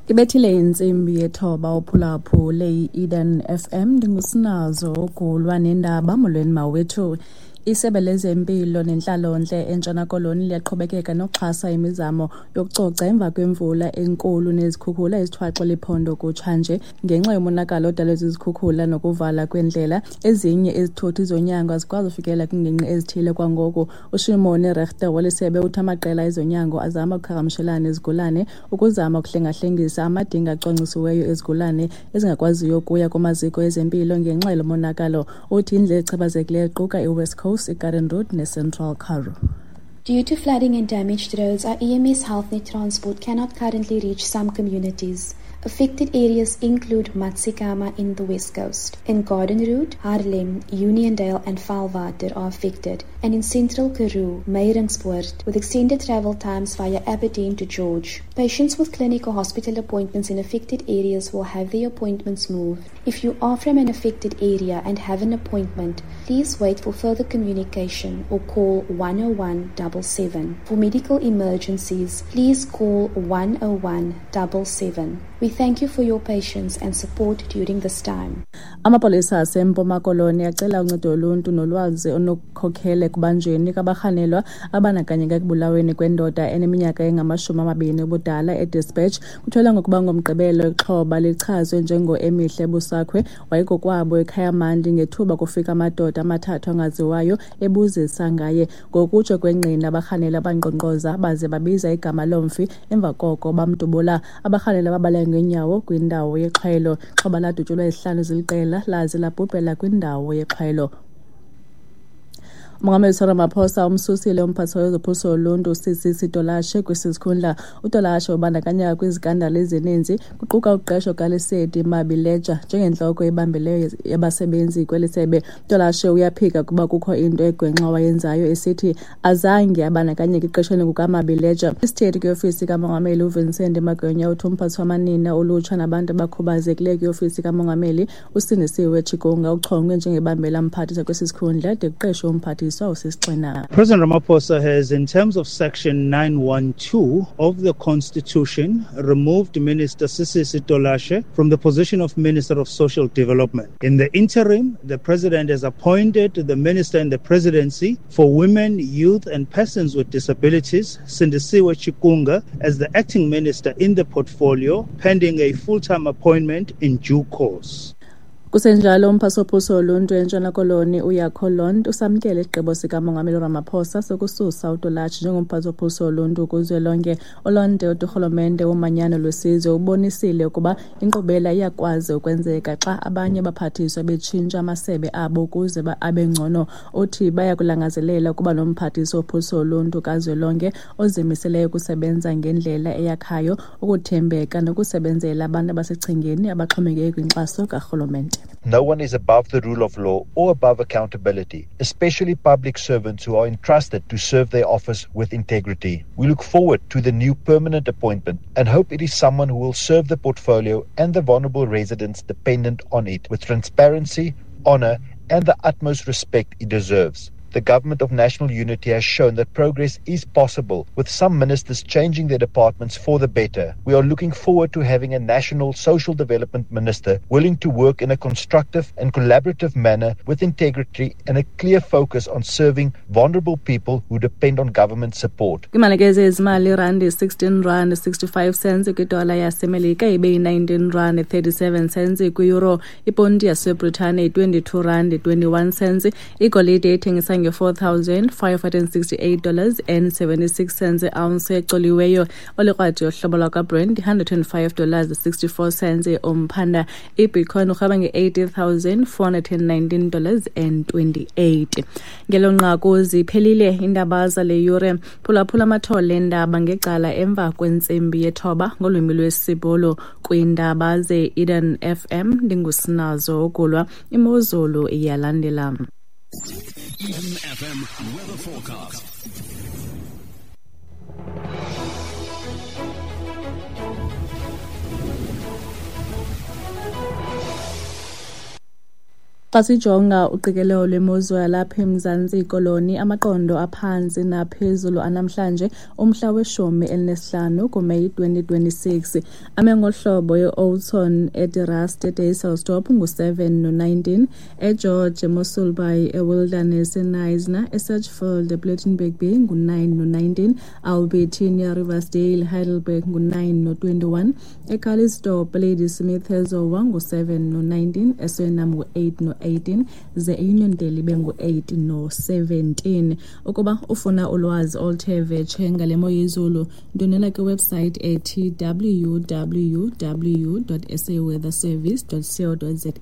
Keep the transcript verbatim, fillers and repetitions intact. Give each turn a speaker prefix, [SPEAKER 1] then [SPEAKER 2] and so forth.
[SPEAKER 1] Ibethile intsimbi yethoba uphulaphule i-Eden F M, ndingusinazo ugulwa nendaba. Molweni mawethu. Isebe lezempilo nentlalontle eNtshona Koloni liyaqhubekeka nokuxhasa imizamo yokucoca emva kwemvula enkulu nezikhukhula ezithwaxe liphondo kutshanje. Ngenxa yomonakalo odalwe zizikhukhula nokuvala kwendlela, ezinye izithuthi zonyango azikwazi ufikelela kwiingingqi ezithile kwangoku. UShimoni Rechter welisebe uthi amaqela ezonyango azama ukuqhagamshelana nezigulane ukuzama ukuhlengahlengisa amadinga acwangcisiweyo ezigulane ezingakwaziyo ukuya kumaziko ezempilo ngenxa yalo monakalo. Uthi indlela echaphazekileyo iquka iWest Coast, iGarden Route neCentral Karoo.
[SPEAKER 2] Due to flooding and damaged roads, our E M S HealthNet transport cannot currently reach some communities. Affected areas include Matsikama in the West Coast. In Garden Route, Haarlem, Uniondale and Vaalwater are affected, and in Central Karoo, Meiringspoort, with extended travel times via Aberdeen to George. Patients with clinic or hospital appointments in affected areas will have their appointments moved. If you are from an affected area and have an appointment, please wait for further communication or call one oh one double seven. For medical emergencies, please call one oh one double seven. We thank you for your patience and support during this time.
[SPEAKER 1] Amapolisa aseMpuma Koloni acela uncedo loluntu nolwazi onokukhokhela ekubanjweni kwabarhanelwa abandakanyeka ekubulaweni kwendoda eneminyaka engamashumi amabini ubudala eDispatch. Kutyholwa ngokuba ngoMgqibelo ixhoba lichazwe njengo-Emihle Busakhwe wayekokwabo eKhayamandi ngethuba kufika amadoda amathathu angaziwayo ebuzisa ngaye. Ngokutsho kwengqina, abarhanelwa bankqonkqoza baze babiza igama lomfi, emva koko bamdubula. Abarhanelwa babaleka ngeenyawo kwindawo yexhwelo. Ixhoba ladutyulwa izihlanu ziliqela laze labhubhela kwindawo yexhwelo. Umongameli Cyril Ramaphosa umsusile umphathiswa wezophuhliso loluntu uSisisi Tolashe kwesi sikhundla. UTolashe ubandakanyeka kwizikandali ezininzi kuquka uqesho kaLesedi Mabileja njengentloko ebambeleyo yabasebenzi kweli sebe. Tolashe uyaphika ukuba kukho into egwenxa wayenzayo, esithi azange abandakanyeke eqeshweni kukaMabileja. Isithethi kwiofisi kamongameli uVincent Magwenya uthi umphathiswa wamanina, ulutsha nabantu abakhubazekileyo kwiofisi kamongameli uSindisiwe Chikunga uchongwe njengebambela mphathiswa kwesi sikhundla de kuqeshwe umphathiswa.
[SPEAKER 3] President Ramaphosa has, in terms of Section nine one two of the Constitution, removed Minister Sisisi Tolashe from the position of Minister of Social Development. In the interim, the President has appointed the Minister in the Presidency for Women, Youth and Persons with Disabilities, Sindisiwe Chikunga, as the acting minister in the portfolio, pending a full-time appointment in due course.
[SPEAKER 1] Kusenjalo, umphathiswa woluntu eNtshona Koloni uYakho Londt usamkele isigqibo sikamongameli Ramaphosa sokususa uTolashe njengomphathiswa woluntu kuzwelonke. ULondt uthi urhulumente womanyano lwesizwe ubonisile ukuba inkqubela iyakwazi ukwenzeka xa abanye abaphathiswa betshintsha amasebe abo ukuze abe ngcono. Uthi bayakulangazelela ukuba nomphathiswa wophuhliso loluntu kazwelonke ozimiseleyo ukusebenza ngendlela eyakhayo, ukuthembeka nokusebenzela abantu abasechengeni abaxhomekeke kwinkxaso karhulumente.
[SPEAKER 4] No one is above the rule of law or above accountability, especially public servants who are entrusted to serve their office with integrity. We look forward to the new permanent appointment and hope it is someone who will serve the portfolio and the vulnerable residents dependent on it with transparency, honor, and the utmost respect it deserves. The government of national unity has shown that progress is possible, with some ministers changing their departments for the better. We are looking forward to having a national social development minister willing to work in a constructive and collaborative manner with integrity and a clear focus on serving vulnerable people who depend on government support.
[SPEAKER 1] Imalike zezimali randi sixteen rand sixty-five cents kwidola yaseMelika ibe yi-nineteen rand thirty-seven cents kwi-euro, iponti yaseBritane twenty-two rand twenty-one cents, igolide ethengisa nge-four thousand five hundred sixty-eight dollars and seventy-six cents ounce ecoliweyo. Olikrwadi yohlobo lwakwaBrent one hundred and five dollars sixty-four cents umphanda. IBitcoin urhweba nge-eighty thousand four hundred nineteen dollars and twenty-eight. Ngelo nqaku ziphelile iindaba zale yure. Phulaphula amathole eendaba ngecala emva kwentsimbi yethoba ngolwimi lwesiBhulu kwiindaba ze-Eden F M. Ndingusinazo Ugulwa. Imozulu iyalandela.
[SPEAKER 5] Eden F M weather forecast.
[SPEAKER 1] Xa sijonga uqikelelo lwemozulu yalapha eMzantsi Koloni, amaqondo aphantsi naphezulu anamhlanje umhla weshumi elinesihlanu kuMeyi twenty twenty-six ame ngohlobo: e-Oudtshoorn, eDe Rust, eDysselsdorp ngu-seven no-nineteen, eGeorge, eMossel Bay, eWilderness, eKnysna, eSedgefield, ePlettenberg Bay ngu-nine no-nineteen, Albertina, Riversdale, Heidelberg ngu-nine no-twenty-one, eCalitzdorp, Ladysmith, eZowa ngu-seven no-nineteen, eSurinam ngu-eight no-eighteen, ze eUniondale ibe ngu-eight no-seventeen. Ukuba ufuna ulwazi oluthe vetshe ngale mo yezulu, ndwendwela kwiwebsite ethi W W W dot saweatherservice dot co dot za.